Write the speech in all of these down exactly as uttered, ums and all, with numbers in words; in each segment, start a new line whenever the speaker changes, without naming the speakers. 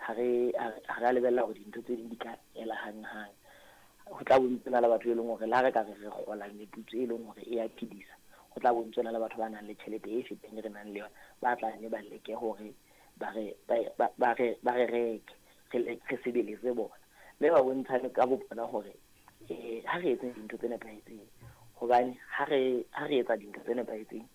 Ha re ha re lebella hore dintho tse ding di ka ela hanghang. Ho tla bontshana le batho e leng hore la re ka re re kgola meputso e leng hore e ya phedisa. Ho tla bontshana le batho ba nang le tjhelete e fetang e re nang le yona, ba tla nne ba leke hore ba re ba ba re ba re reke re re sebeletse bona. Mme ba bontshane ka bo bona hore eh ha re etseng dintho tse nepahetseng, hobane ha re ha re etsa dintho tse nepahetseng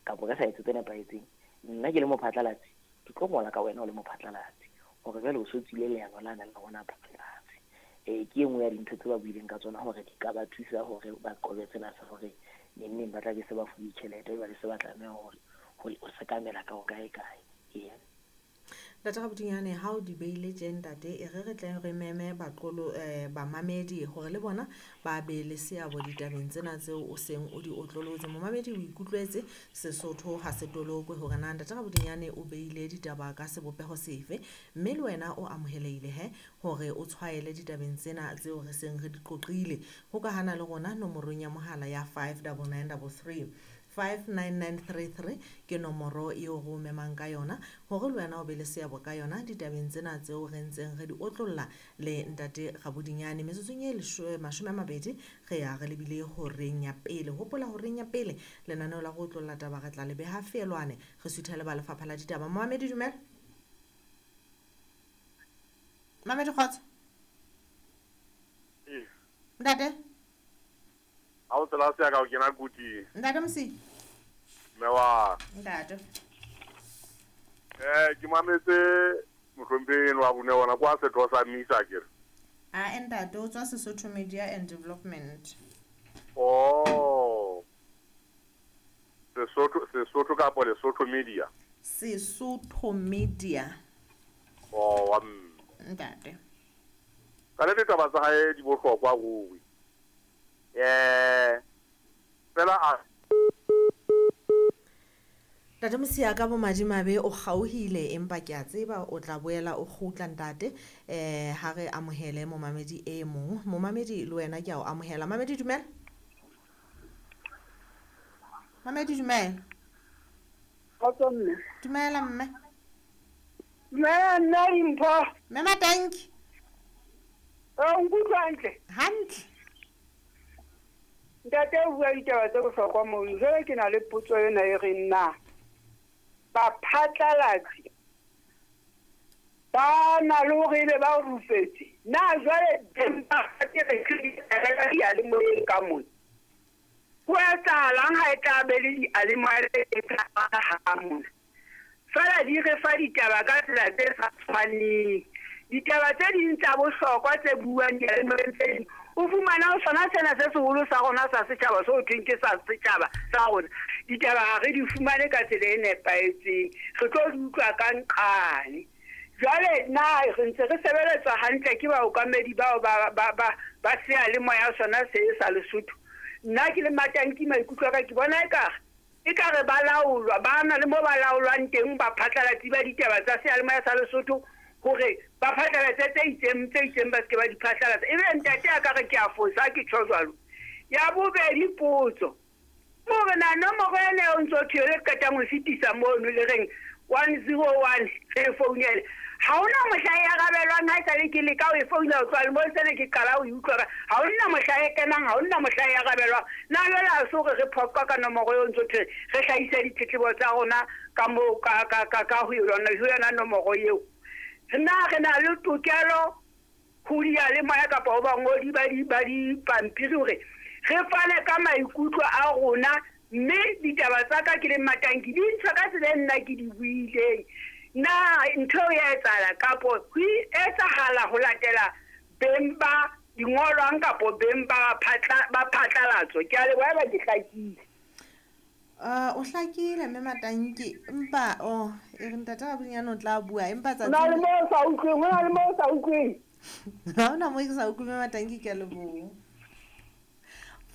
kapa re sa etse tse nepahetseng, nna ke le mophatlalatsi ke tlo ngola ka wena o le mophatlalatsi hore jwale o so tswile leano la nang le rona phatlalatsi. Eh ke e nngwe ya dintho tse ba buileng ka tsona hore di ka ba thusa hore ba qobe tsena sa hore neng neng ba tla be se ba fuwe tjhelete jwale se ba tlameha hore ho sekamela ka ho kae kae. Ee.
Ntate Rabodinyane, ha o di beile tje ntate, e re re tle re meme baqolo eh bamamedi hore le bona ba be le seabo ditabeng tsena tseo o seng o di otlolotse. Momamedi o ikutlwetse Sesotho ha se tolokwe hore na Ntate Rabodinyane o beile ditaba ka sebopeho sefe, mme le wena o amohelehile he hore o tshwaele ditabeng tsena tseo re seng re di qoqile. Hokahana le rona nomorong ya mohala ya five double nine double three. five nine nine three three ke nomoro eo re o memang ka yona hore le wena o be le seabo ka yona ditabeng tsena tseo re ntseng re di otlolla le Ntate Rabodinyane. Metsotsong e mashome a mabedi re ya re lebile horeng ya pele. Hopola horeng ya pele lenaneo la go otlolla taba re tla le beha feelwane, re suthele ba lefapha la ditaba. Momamedi dumela. Mamedi kgotso. Ntate
Ha o tsela se ka o kena kuti.
Ntate Mosi.
Mme wa.
Ntate.
Eh ke mametse mohlomphehi wa bone ona kwa setho sa Misa ke re.
A ntate o tswa Sesotho Media and Development.
Oh. Sesotho Sesotho kapa Lesotho Media.
Sesotho Media.
Oh wa mme.
Ntate.
Ka le ditaba tsa hae di bohlokwa ruri. Eh fela a
Ntate Mosia ka bomadimabe o kgaohile, empa ke a tseba o tla boela o kgutla ntate. Eh ha re amohele momamedi e mong. Momamedi le wena ke a o amohela. Mamedi dumela. Mamedi dumela.
Kgotso mme.
Dumela mme.
Dumela nna Dimpho.
Mme Matanki.
O nkutlwa hantle?
Hantle.
Ntate o bua ditaba tse bohlokwa mono. Jwale ke na le potso ena e reng na baphatlalatsi ba na le hore ebe ba rupetse na jwale ba ke re diyalemoyeng ka mona ho etsahalang ha e tla be le diyalemoya e tla ha mona fela di re fa ditaba ka tsela tse sa tshwaneng. Ditaba tse ding tsa bohlokwa tse buang diyalemoyeng tse ding o fumana ho sona sena se seholo sa rona sa setjhaba seo thweng ke sa setjhaba sa rona, ditaba ha re di fumane ka tsela e nepahetseng, re tlo di utlwa ka nqane. Jwale na re ntse re sebeletswa hantle ke baokamedi bao ba ba ba ba seyalemoya sona se sa Lesotho? Nna ke le Matanki maikutlo a ka ke bona ekare ekare ba laolwa, ba na le mo ba laolwang teng baphatlalatsi ba ditaba tsa seyalemoya sa Lesotho hore ba phatlalatse tse itseng tse itseng ba seke ba di phatlalatsa. Ebe ntate a ka re ke a fosa ke tjho jwalo. Ya bobedi potso more na nomoro ena eo ntso thwe le qetang ho fetisa mono le reng one zero one re founele, ha hona mohla e arabelwang. Ha esale ke leka ho e founa ho tloha lemong sena ke qala ho e utlwa, ha hona mohla e kenang, ha hona mohla e arabelwang. Na jwale ha se hore re phoqa ka nomoro eo ntso thwe re hlahise ditletlebo tsa rona ka moo ka ka ka ka ho yona ho yona nomoro eo? Na re na le tokelo ho diyalemoya kapa ho bangodi ba di ba dipampiri hore re fane ka maikutlo a rona, mme ditaba tsa ka ke le Matanki di ntshwa ka tsela e nna ke di buileng. Na ntho eo ya etsahala kapo ho etsahala ho latela beng ba dingolwang kapo beng ba phatla ba phatlalatso? Ke a leboha ba ke hlakile.
Uh, o hlakile mme Matanki, empa oh e re Ntate Rabodinyane o tla bua empa tsatsi
Ho na le moo o sa utlweng, ho na le moo o sa utlweng.
Ha hona moo ke sa utlweng mme Matanki, ke a leboha.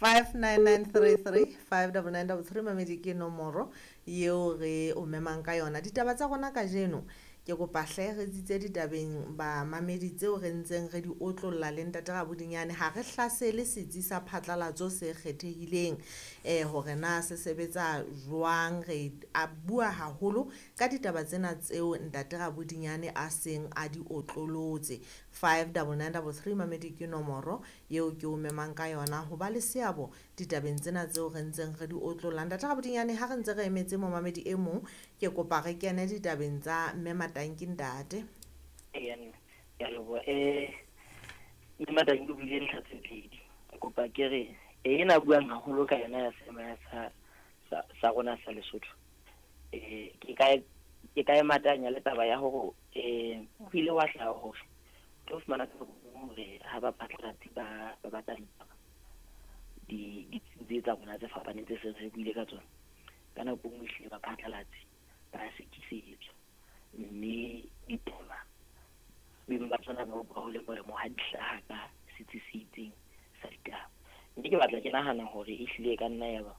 five nine nine three three five double nine double three mamedi ke nomoro eo re o memang ka yona. Ditaba tsa rona kajeno Ke kopa hle re tsitse ditabeng bamamedi tseo re ntseng re di otlolla le ntate Rabodinyane. Ha re hlasele setsi sa phatlalatso se kgethehileng eh hore na se sebetsa jwang. Re a bua haholo ka ditaba tsena tseo ntate Rabodinyane a seng a di otlolotse. five double nine double three mamedi ke nomoro eo ke o memang ka yona ho ba le seabo ditabeng tsena tseo re ntseng re di otlolla. Ntate Rabodinyane, ha re ntse re emetse momamedi e mong, ke kopa re kene ditabeng tsa mme Matanki ntate.
Eya, ke a leboha. Eh, mme Matanki o buile ntlha tse pedi. Ke kopa ke re ena buang haholo ka yona ya seema sa sa sa rona sa Lesotho. Eh, ke ka ke ka e matanya le taba ya hore eh ho ile wa hlaha hore tlo fumana hore ha ba phatlalatsi ba ba batla ditaba di di tsa rona tse fapaneng tse seng re buile ka tsona, ka nako nngwe ehlile ba phatlalatsi ba sekisetswa, mme ditaba beng ba tsona ba utlwa ho le molemo ha di hlaha ka setsi se itseng sa ditaba. Mme ke batla ke nahana hore ehlile e ka nna ya ba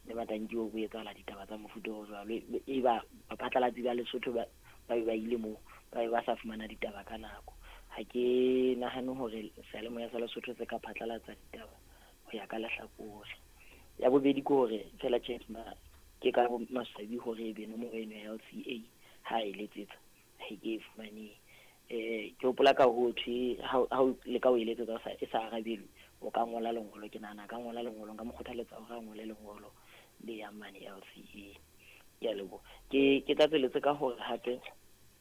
le Matanki o etsahala ditaba tsa mofuta o jwalo, e ba baphatlalatsi ba Lesotho ba ba ba ile moo ba be ba sa fumana ditaba ka nako. Ha ke nahane hore seyalemoya sa Lesotho se ka phatlalatsa ditaba ho ya ka lehlakore. Ya bobedi ke hore fela tjhe ke ka maswabi hore ebe nomoro eno ya L C A ha e letsetsa ha ke e fumane. Eh ke hopola ka ho thwe ha o leka ho e letsetsa e sa arabelwe, o ka ngola lengolo. Ke nahana ka ngola lengolo, nka mo kgothaletsa hore a ngole lengolo le yang mane L C A. Ke a leboha. Ke ke tlatseletse ka hore hape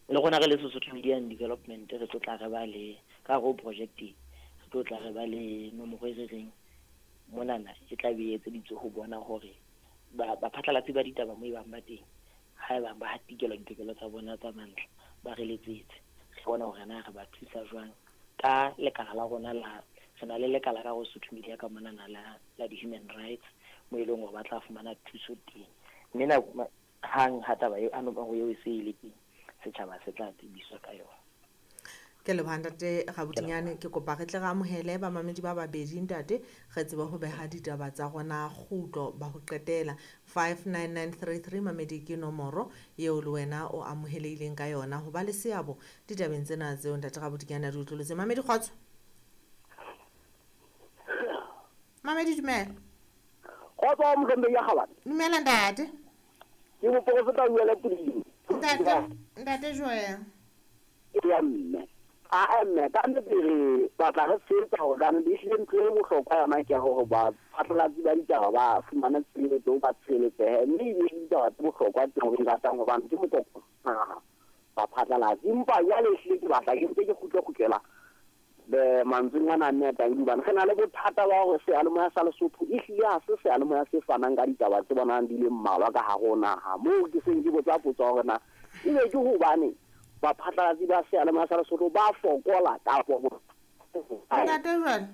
le rona re le Sesotho Media and Development re tlo tla re ba le ka hare ho project e, re tlo tla re ba le nomoro e re reng monana e tla be e etseditswe ho bona hore ba baphatlalatsi ba ditaba mo e bang ba teng, ha e bang ba hatikelwa ditokelo tsa bona tsa mantlha, ba re letsetse, re bone hore na re ba thusa jwang ka lekala la rona la re na le lekala ka ho Sesotho Media ka monana la la di-human rights mo e leng hore ba tla fumana thuso teng. Mme nako hang ha taba eo ha nomoro eo e se e le teng, setjhaba se tla tsebiswa ka yona.
Ke leboha ntate Rabodinyane. Ke kopa re tle re amohele bamamedi ba babedi ntate, re tsebe ho beha ditaba tsa rona kgutlo ba ho qetela. five nine nine three three mamedi ke nomoro eo le wena o amohelehileng ka yona ho ba le seabo ditabeng tsena tseo ntate Rabodinyane a di utlwiletse. Mamedi kgotso. Mamedi dumela.
Kgotso mohlombe ya kgabane.
Dumela ntate.
Ke moprofeta Joel Puding.
Ntate, ntate Joel.
Ya mme. A mme ka nnete re batla re tshehetsa hore di hlile ntho e bohlokwa yona ke hore ba phatlalatsi ba ditaba ba fumane tshireletso, ba tshireletsehe, mme e ditaba tse bohlokwa tseo re ratang hobane ke motlotlo ba phatlalatsi. Empa jwale ehlile ke batla ke ntse ke kgutle-kgutlela mantsweng ana a mme a Tanki, hobane re na le bothata ba hore seyalemoya sa Lesotho ehlile ha se seyalemoya se fanang ka ditaba tse bonang di le mmalwa ka hare ho naha. Moo ke seng ke botsa potso hore na ebe ke hobane baphatlalatsi ba seyalemoya sa Lesotho ba fokola kapa
Ntate Joel,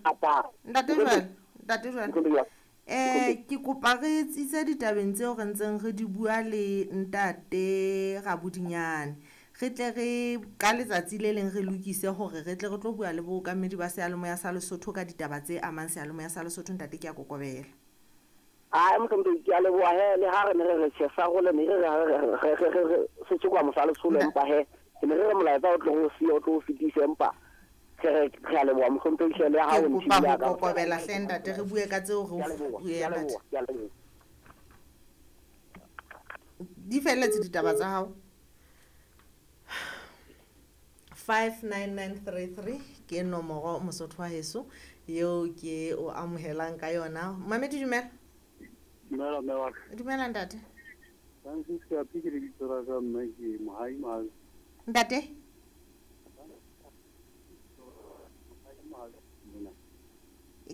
Ntate Joel, Ntate Joel, eh ke kopa re tsitse ditabeng tseo re ntseng re di bua le ntate Rabodinyane. Re tle re ka letsatsi le leng re lokise hore re tle re tlo bua le bookamedi ba seyalemoya sa Lesotho ka ditaba tse amang seyalemoya sa Lesotho. Ntate ke a kokobela.
A mohlombe ke a leboha he, le ha re ne re re tjhe sa role ne re re re re se tshekwa mosa Lesotho, empa he ke ne re re molaetsa o tlo o siya o tlo o fetise, empa ke re re a leboha mohlompe le ha o
ntshile ka kokobela hle ntate, re bue ka tseo re o ntate. Di felletse ditaba tsa hao. five nine nine three three ke nomoro Mosotho wa heso eo ke o amohelang ka yona. Mamedi dumela.
Dumela mme wa ka.
Dumela ntate.
Francis ka ke lebitso la ka mme ke Mohai Mahazi.
Ntate?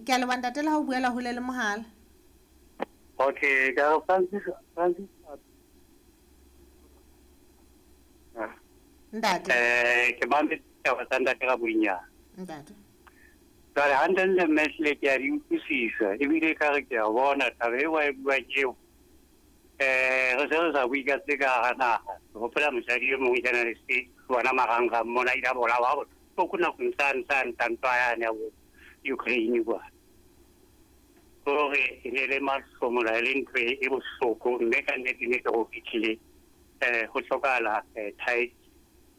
Ke a leboha ntate le ha o buela hole le mohala.
Okay, ka Francis Francis
Ntate.
Eh ke mametse taba tsa ntate Rabodinyane.
Ntate.
Jwale hantle mme hlile ke a di utlwisisa ebile ka re ke a bona taba eo a e buang eo. Eh re se re sa bue ka tse ka hara naha. Ke hopola mosadi e mong journalist bona marangrang mona ile a bolawa bohloko nakong tsane tsane tsa ntwa yane ya bo Ukraine kwa. Hore e ne le mahlomola e le ntho e bohloko, mme ka nnete nnete ho fihlile eh ho hlokahala tight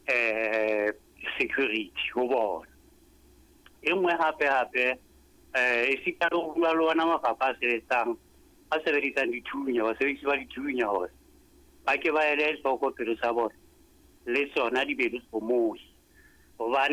eh security ho bona. E nngwe hape hape eh esita le ho bua le ona mafapha a sebetsang a sebedisang dithunya, basebedisi ba dithunya hore ba ke ba ele hloko pelo tsa bona le tsona di be le hlomohi. Hobane